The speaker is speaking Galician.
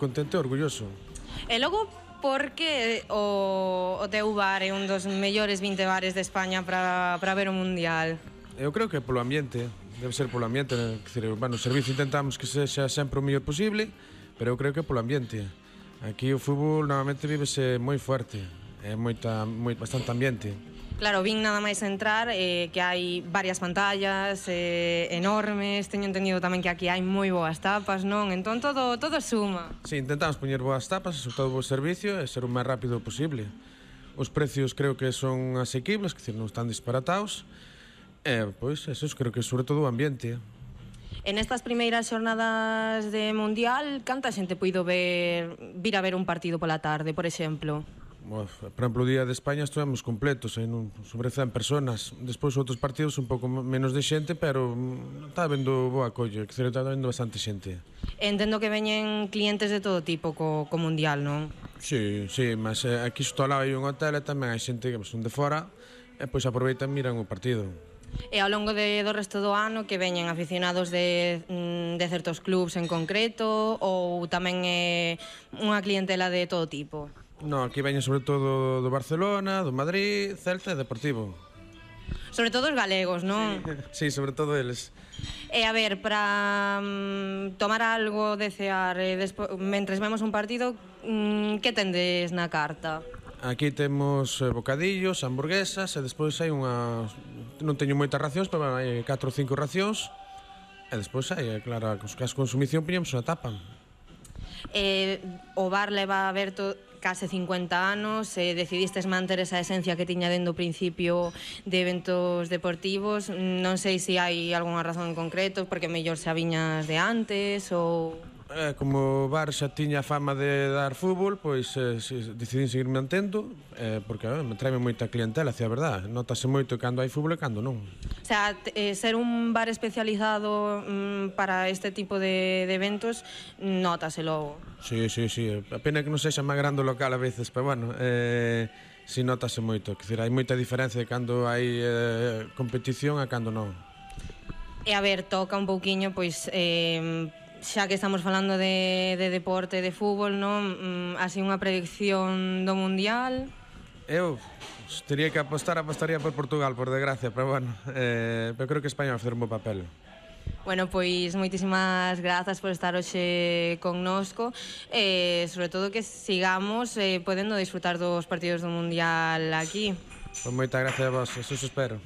Contento e orgulloso. E logo, por que o teu bar é un dos mellores 20 bares de España para ver o Mundial? Eu creo que polo ambiente, debe ser polo ambiente, o servicio intentamos que sexa sempre o mellor posible, pero eu creo que polo ambiente. Aquí o fútbol normalmente vívese moi fuerte, é bastante ambiente. Claro, vin nada máis entrar que hai varias pantallas enormes, teño entendido tamén que aquí hai moi boas tapas, non? Entón todo suma. Sí, intentamos poñer boas tapas, sobre todo bo servicio e ser o máis rápido posible. Os precios creo que son asequibles, que non están disparatados. Pois, eso creo que sobre todo o ambiente. En estas primeiras xornadas de Mundial, canta xente puido vir a ver un partido pola tarde, por exemplo? Por exemplo, o día de España estivemos completos, sobre 100 personas. Despois outros partidos un pouco menos de xente, pero está habendo boa acollo, está habendo bastante xente. Entendo que veñen clientes de todo tipo co Mundial, non? Sí, mas aquí xusto ao lado hai un hotel e tamén hai xente que son de fora e pois aproveitan e miran o partido. E ao longo do resto do ano que veñen aficionados de certos clubs en concreto ou tamén é unha clientela de todo tipo? No, aquí veñen sobre todo do Barcelona, do Madrid, Celta e Deportivo. Sobre todo os galegos, non? Sí, sobre todo eles. E a ver, para tomar algo de cear mentres vemos un partido, que tendes na carta? Aquí temos bocadillos, hamburguesas e despois hai non teño moitas racións, pero hai 4 ou 5 racións e despois hai, claro, as consumición poñemos unha tapa. O bar leva aberto case 50 anos, decidistes manter esa esencia que tiña dende o principio de eventos deportivos. Non sei se hai algunha razón en concreto, porque mellor xa viñas de antes ou... Como o bar xa tiña fama de dar fútbol, pois decidín seguir mantendo, porque me traeme moita clientela, a verdad. Notase moito cando hai fútbol e cando non. O sea, ser un bar especializado para este tipo de eventos, notase logo. Sí, a pena que non sexa máis grande o local a veces, pero bueno, si notase moito. Hai moita diferencia de cando hai competición a cando non. E a ver, toca un pouquiño, pois... xa que estamos falando de deporte, de fútbol, non? Así unha predicción do Mundial? Eu teria que apostaría por Portugal, por desgracia, pero bueno, pero creo que España vai facer un bo papel. Bueno, pois moitísimas grazas por estar hoxe connosco e sobre todo que sigamos podendo disfrutar dos partidos do Mundial aquí. Pois moita gracia a vos, eso espero.